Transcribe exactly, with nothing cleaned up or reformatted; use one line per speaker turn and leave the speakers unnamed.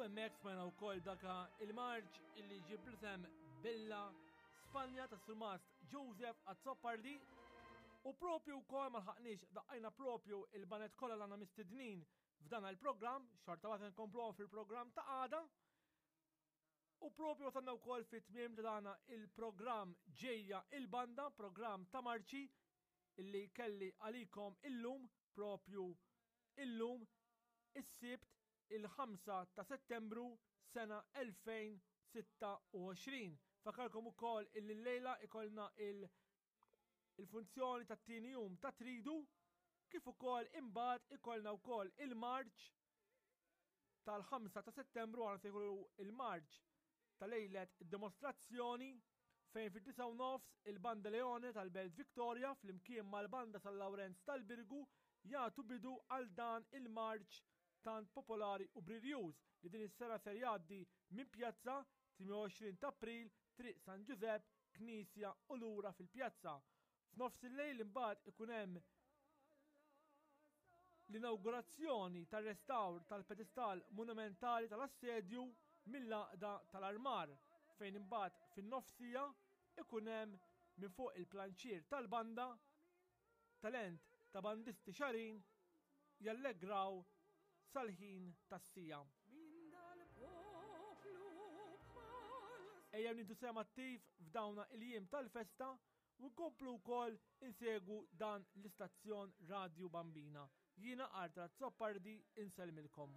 Hemmhekk smajna wkoll daka il-marċ illi ġib l-isem Bella Spanja ta' Surmast Joseph Azzopardi. U propju wkoll ma lħaqniex daqqajna propju il-baned kollha l għandna mistednin f'dan il-programm, xorta waħda nkompluhom fil-programm ta' għada. U propju wasalna wkoll fit-tmiem ta' dana il-programm Ġejja il-Banda, programm ta' marċi illi kelli għalikom illum, propju illum, is-Sibt, il-ħamsa ta' Settembru sena elfejn u sitta u għoxrin. Fakkarkom ukoll illi llejla ikollna il- il-funzjoni tat-tieni jum ta' Tridu, kif ukoll imbagħad ikollna wkoll il-marċ tal-ħamsa ta' Settembru, għana se jkollu il-marċ ta' lejlet id-dimostrazzjoni, fejn fid-disgħa u nofs il-Banda Leone tal-Belt Victoria flimkien mal-Banda San Lawrenz tal-Birgu jagħtu bidu għal dan il-marċ tant popolari u briljuż li din is-sena ser jgħaddi minn Pjazza tmienja u għoxrin ta' April, Triq San Giuseppe, Knisja u lura fil-pjazza. F'nofs il-lejl imbagħad ikun hemm l-inaugurazzjoni tar-restawr tal-pedestal monumentali tal-assedju mill-Għaqda tal-Armar, fejn imbagħad fin-nofsija ikun hemm minn fuq il-planċier tal-banda talent ta' bandisti xarin jallegraw sal-ħin tas-siegħa.
Min dal-poplu bħal
Ejja nieħdu sehem attiv f'dawna il-jiem tal-festa u nkomplu wkoll insegwu dan l-istazzjon Radju Bambina. Jiena Arthur Azzopardi, insellmilkom.